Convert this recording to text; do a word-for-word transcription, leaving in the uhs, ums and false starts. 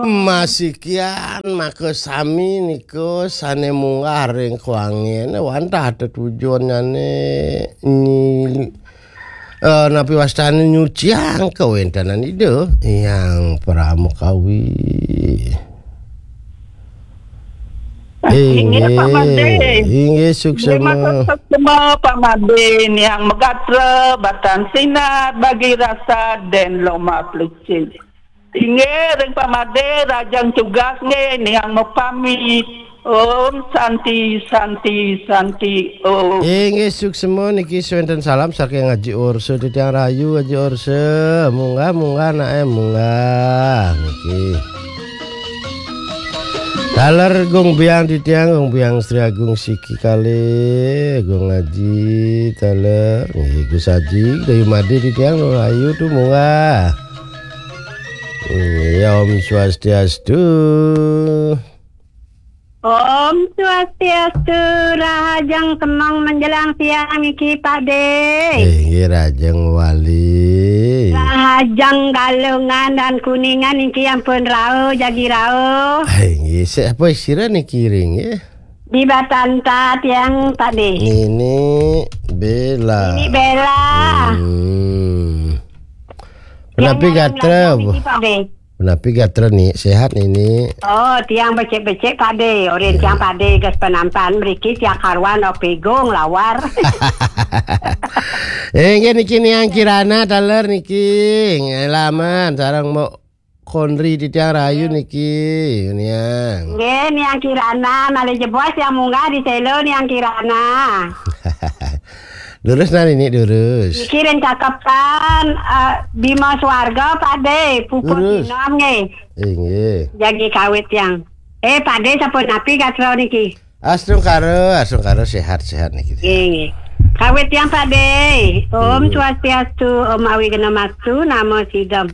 Masikian maka sami nika sane munggah ring kuange, wantah tetujunnyané nyi-, eh, napi wastane nyuciang kawentenan Ida Hyang Pramakawi. Inggih, Pak Made. Inggih, suksema. Terima kasih semua, Pak Made, Niang Megatra, Batan Sinar, Bagi Rasa, dan Loma Pelicin. Inggih, ring Pak Made, rahajeng tugas nggih, Niang mapamit. Om Santi, Santi, Santi, Om. Inggih, suksema niki wenten salam saking Aji Orsa titiang rahayu, Aji Orsa. Munggah, munggah, nae, munggah. Niki. Taler Gung Biang titiang, Gung Biang Sri Agung siki kalih, Gung Aji, taler, nggih, Gus Aji, Dayu Made titiang, rahayu tu munggah. Nggih, Om Swastiastu. Om Swastiastu, rahajeng semeng menjelang siang niki, Pak De. Eh, nggih, rahajeng wali. Rahajeng Galungan dan Kuningan niki ampun rauh, jagi rauh. Eh, nggih, siapa sira niki ring, nggih? Di Batanta tiang, Pak De. Nini Bella. Nini Bella. Hmm. Tiang Punapi gatra, niki, Pak De. Punapi gatra ni, sehat nini? Oh, tiang becik-becik, Pak De. Orin tiang, Pak De, gas penampan mriki tiang karuan opegung lawar. Eh, nggih niki Niang Kirana taler niki. Ngalaman sareng Mbok Konri titiang rahayu niki, Niang. Nggih, Niang Kirana, malih jebos tiang munggah di Selo, Niang Kirana. Lurus nah nini, lurus. Niki ring cakepan, eh, Bima Swarga, Pak De, puput Lurus. Sinom nggih. Inggih. Jagi kawit tiang. Eh, Pak De sampun napi gatra niki? Astungkara, astungkara sehat-sehat niki. Nggih, nggih. Kawit tiang, Pak De. Om Hmm. Swastiastu, Om Awighnamastu, Namo Sidam.